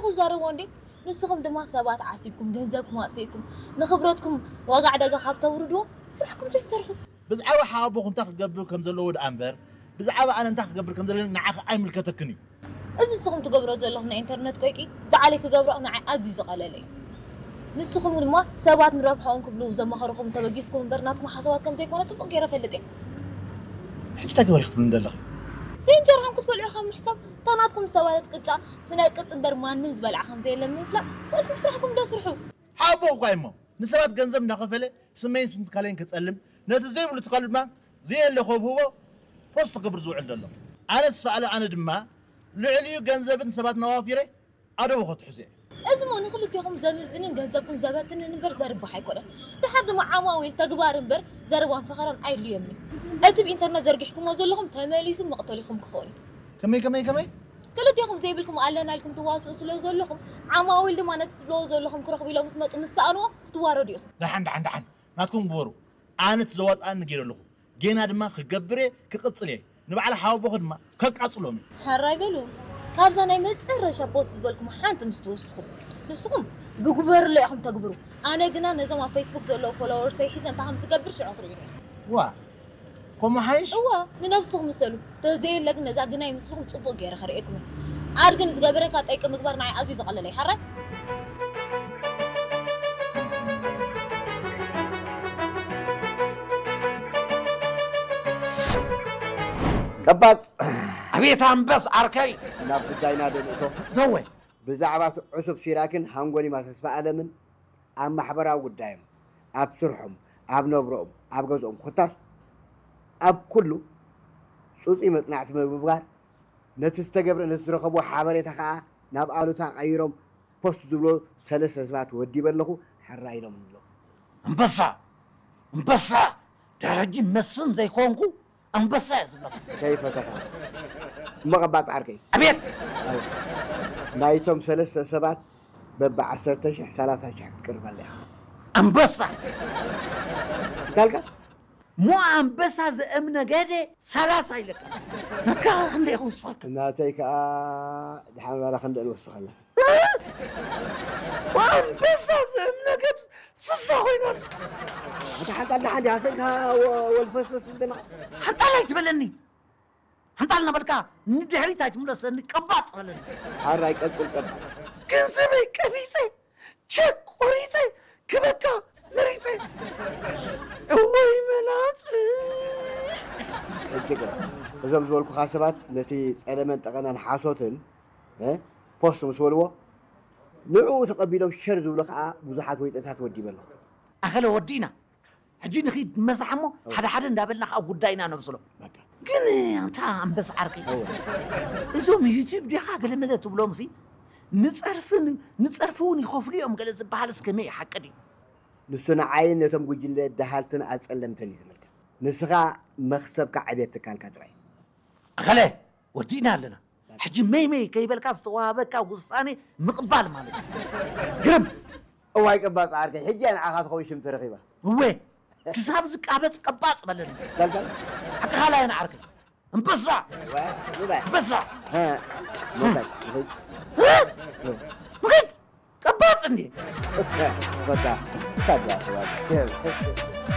ክዛረቦ እንዴ? ንስኹም ድማ ሰባት ዓሲብኩም፣ ገንዘብኩም ኣጥፊእኩም፣ ንኽብረትኩም ዋጋ ዕዳጋ ካብ ተውርድዎ፣ ስራሕኩም ዘይትሰርሑ። ብዛዕባ ሓወቦኹም እንታይ ክገብር ከም ዘለዎ ደኣ እምበር፣ ብዛዕባ ኣነ እንታይ ክገብር ከም ዘለኒ ንዓኺ ኣይምልከተክን እዩ። እዚ ንስኹም ትገብሮ ዘለኹም ናይ ኢንተርነት ቆይቂ፣ ባዕለይ ክገብሮ ንዓይ ኣዝዩ ዝቐለለ እዩ። ንስኹም ድማ ሰባት ንረብሓኦም ክብሉ ዘማኸሩኹም ተበጊስኩም እምበር፣ ናትኩም ሓሳባት ከም ዘይኮነ ጽቡቕ ገይረ እፈልጥ እየ። ሕጂ እንታይ ግበሪ ክትብልኒ ዘለኺ? ዘይንጀርኻም ክትበልዑ ካብ ምሕሳብ፣ እታ ናትኩም ዝተባህለት ቅጫ ትነቅጽ እምበር ማንም ዝበልዓ ከም ዘየለ ንምፍላጥ፣ ስቕልኩም ስራሕኩም ዶ ስርሑ። ሓቦ እኳ እሞ ንሰባት ገንዘብ እንዳኸፈለ ስመይን ስም ትካለይን ክጸልም፣ ነቲ ዘይብሉ ትካሉ ድማ ዘየለ ከብህቦ ፖስት ክገብር ዝውዕል ዘሎ። ኣነ ተስፋ ኣለም ኣነ ድማ ልዕሊኡ ገንዘብን ሰባት ናዋፊረ ኣደቡ ከትሕዞ እየ። እዚ እሞ ንክልቴኹም ዘምዝንን ገንዘብኩም ዘበትንን እምበር ዘርብሕ ኣይኮነን። ድሓር ድማ ዓማዊል ተግባር እምበር ዘረባን ፈኸራን ኣየድልዮምን እዩ። እቲ ብኢንተርነት ዘርጊሕኩሞ ዘለኹም ተመሊሱ መቕተሊኹም ክኸውን እዩ። ከመይ ከመይ ከመይ? ክልቴኹም ዘይብልኩም ኣለና ኢልኩም ትዋስኡ ስለ ዘለኹም፣ ዓማዊል ድማ ነቲ ትብልዎ ዘለኹም ክረኽቡ ኢሎም ምስ መጹ ምስ ሰኣንዎ ክትዋረዱ ኢኹም። ደሓን ደሓን ደሓን ናትኩም ግበሩ። ኣነ እቲ ዘዋጽኣኒ ገይረ ኣለኹ። ጌና ድማ ክገብር እየ፣ ክቕጽል እየ። ንበዓል ሓወቦኹ ድማ ከቃጽሎም እየ። ሕራይ በሉ። ካብዛ ናይ መጨረሻ ፖስት ዝበልኩም ሓንቲ ምስ ትውስኹም፣ ንስኹም ብግበርሎ ኢኹም ተግብሩ። ኣነ ግና ነዞም ኣብ ፌስቡክ ዘለዉ ፎሎወርሰይ ሒዘ እንታይ ከም ዝገብር ሽዑ ክትርእዩኒ ኢኹም። ዋ፣ ከምኡ ሓይሽ? እዋ፣ ንነብስኹም ምሰሉ። ተዘየለ ግን ነዛ ግናይ ምስልኹም ጽቡቕ ገይረ ከርእየኩም እየ። ኣድግን ዝገበረካ ጠይቂ ምግባር ንዓይ ኣዝዩ ዝቐለለ እዩ። ሕራይ? ቀባጽ፣ ኣቤት ኣንበስ ዓርከይ። ናብ ጉዳይና ዶ ንእቶ? ዘወ። ብዛዕባ እቲ ዕሱብ ሲራክን ሃንጎሊማ ተስፋ ኣለምን ኣብ ማሕበራዊ ጉዳዮም፣ ኣብ ስርሖም፣ ኣብ ነብሮኦም፣ ኣብ ገዝኦም ኮታስ ኣብ ኩሉ ጽጹይ መጽናዕቲ ብምግባር፣ ነቲ ዝተገብረ፣ ነቲ ዝረኸብዎ ሓበሬታ ከኣ ናብ ኣሉታ ቀይሮም ፖስት ዝብሎ ሰለስተ ሰባት ወዲበ ኣለኹ፣ ሕራይ ኢሎም ኣለዉ። ኣንበሳ! ኣንበሳ! ድሕሪ ሕጂ መስፍን ዘይኮንኩ ኣንበሳ እየ ዝብለካ። ከይፈተኻ። እሞ ቀባጽ ዓርከይ። ኣቤት! ኣይ፣ ናይቶም ሰለስተ ሰባት በብዓሰርተ ሽሕ፣ ሰላሳ ሽሕ ክትቅርበለይ ኢኻ። ኣንበሳ! እንታይ ኣልካ? ሞ ኣንበሳ ዘእምነ ገደ ሰላሳ ኢለካ። ናትካ ኸ ክንደይ ይኸውን ንስኻ? ናተይ ከኣ ድሓን ዋላ ክንደይ ንወስኸላ። እ? ኣንበሳ ዘእምነ ገደ ስሳ ኮይና። ኣታ ሓንጣል ደሓን ዲኻ ስእልካ ወ-፣ ወልፈስፈስ ትብለና? ሓንጣል ኣይትበለኒ። ሓንጣል እናበልካ ንድሕሪት ኣይትምለሰኒ፣ ቀባጽ በለኒ። ሓራይ ቀጽል ቀባጽ። ገንዘበይ ቀቢጸ፣ ቸክ ቆሪጸ፣ ክበካ መሪጸ። እወይ መናጽ። ሕጂ ግን እዞም ዝበልኩኻ ሰባት ነቲ ጸለመን ጠቐነን ሓሶትን፣ እ፣ ፖስት ምስ በልዎ፣ ንዕኡ ተቐቢሎም ሸር ዝብሉ ኸኣ ብዙሓት ወይጦታት ወዲበ ኣለኹ። ኣኸለ ወዲእና። ሕጂ ንኺድ መሳሕ እሞ እወ። ሓደ ሓደ እንዳበልና ኸኣ ጉዳይና ነብስሎ። በቃ። ግን ኣንታ ኣንበሳ ዓርከይ፣ እወ። እዞም ዩቲዩብ ዲኻ ገለመለ ትብሎምሲ ንጸርፍን፣ ንጸርፊ እውን ይኸፍሉ እዮም ገለ ዝበሃልስ ከመይ እዩ ሓቂ ድዩ? ንሱ ንዓይን ነቶም ጉጅለ ደሃልትን ኣጸለምትን እዩ ዝምልከት። ንስኻ መኽሰብካ ዕቤት ትካልካ ጥራይ። ኣኸለ፣ ወዲእና ኣለና። ሕጂ መይ መይ ከይበልካ ዝተዋህበካ ውሳኔ ምቕባል ማለት እዩ። ግርም! እዋይ ቀባጽ ዓርከይ፣ ሕጂ እያ ንዓኻ ትኸውን ሽም ተረኺባ። እወ፣ ክሳብ ዝቃበጽ ቀባጽ በለኒ። ዳልዳል። ሓቅኻ ላይ ንዓርከይ። እምበሳ! እዋ፣ እዋ። እምበሳ! ሀ፣ ሞታይ፣ ይኸይድ። እ? ምኸይድ! ቀባጽ እንዴ? በቃ፣ ሳቢያ፣ ሳቢያ።